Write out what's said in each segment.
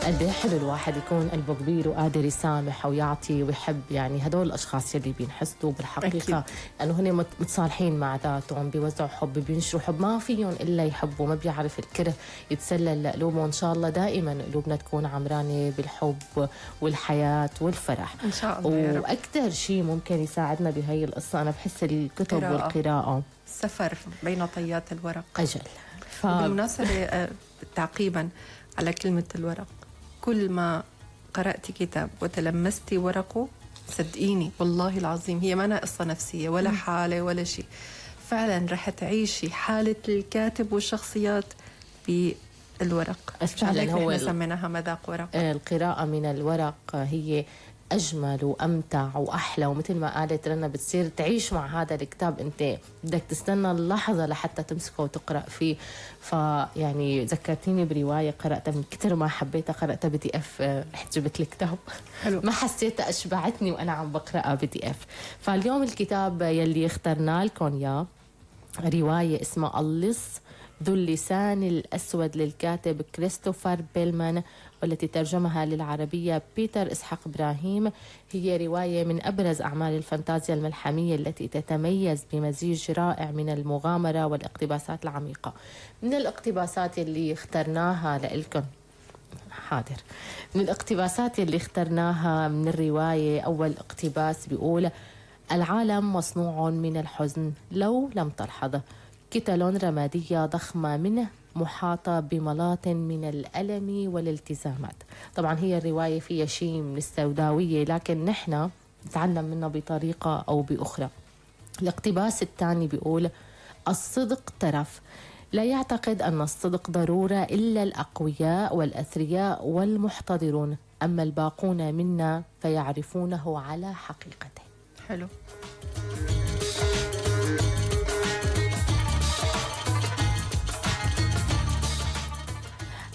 قد ايه حلو الواحد يكون قلبه كبير وقادر يسامح ويعطي ويحب. يعني هدول الاشخاص يلي بينحسدوا بالحقيقه انه هن متصالحين مع ذاتهم، بيوزعوا حب، بينشروا حب، ما فيهم الا يحبوا، ما بيعرف الكره يتسلل لقلوبهم. وان شاء الله دائما قلوبنا تكون عمرانه بالحب والحياه والفرح ان شاء الله. واكثر شيء ممكن يساعدنا بهي القصه انا بحس الكتب والقراءه، السفر بين طيات الورق. اجل. بالمناسبه تعقيبا على كلمه الورق، كل ما قرأت كتاب وتلمستي ورقه صدقيني والله العظيم هي ما قصة نفسية ولا حالة ولا شيء، فعلا رح تعيشي حالة الكاتب والشخصيات بالورق. فعلا هو سميناها مذاق ورق. القراءة من الورق هي أجمل وأمتع وأحلى، ومثل ما قالت رنا بتصير تعيش مع هذا الكتاب، أنت بدك تستنى اللحظة لحتى تمسكه وتقرأ فيه. فيعني ذكرتيني برواية قرأتها من كتر ما حبيتها، قرأتها PDF، رحت جبت الكتاب حلو. ما حسيتها أشبعتني وأنا عم بقرأها PDF. فاليوم الكتاب يلي اخترنا لكم يا رواية اسمها اللص ذو اللسان الأسود للكاتب كريستوفر بيلمان، والتي ترجمها للعربية بيتر إسحاق إبراهيم. هي رواية من أبرز أعمال الفانتازيا الملحمية التي تتميز بمزيج رائع من المغامرة والاقتباسات العميقة. من الاقتباسات اللي اخترناها لإلكم من الاقتباسات اللي اخترناها من الرواية، أول اقتباس بيقول: العالم مصنوع من الحزن لو لم تلحظ، كتل رمادية ضخمة منه محاطة بملاط من الألم والالتزامات. طبعا هي الرواية فيها شيء من السوداوية، لكن نحن نتعلم منها بطريقة أو بأخرى. الاقتباس الثاني بيقول: الصدق ترف، لا يعتقد أن الصدق ضرورة إلا الأقوياء والأثرياء والمحتضرون، أما الباقون منا فيعرفونه على حقيقته. حلو.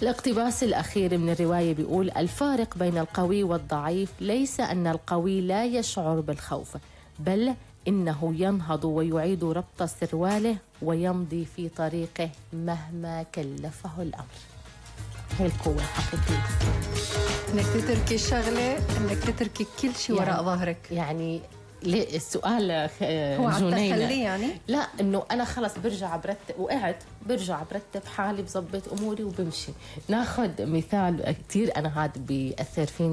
الاقتباس الأخير من الرواية بيقول: الفارق بين القوي والضعيف ليس أن القوي لا يشعر بالخوف، بل إنه ينهض ويعيد ربط سرواله ويمضي في طريقه مهما كلفه الأمر. هي القوة الحقيقية، إنك تتركي الشغلة، إنك تتركي كل شيء وراء ظهرك. يعني السؤال هو جنينة يعني؟ لا، انه انا خلص برجع برتب، وقعت برجع برتب حالي، بظبط اموري وبمشي. ناخذ مثال كتير انا هذا بيأثر فيني.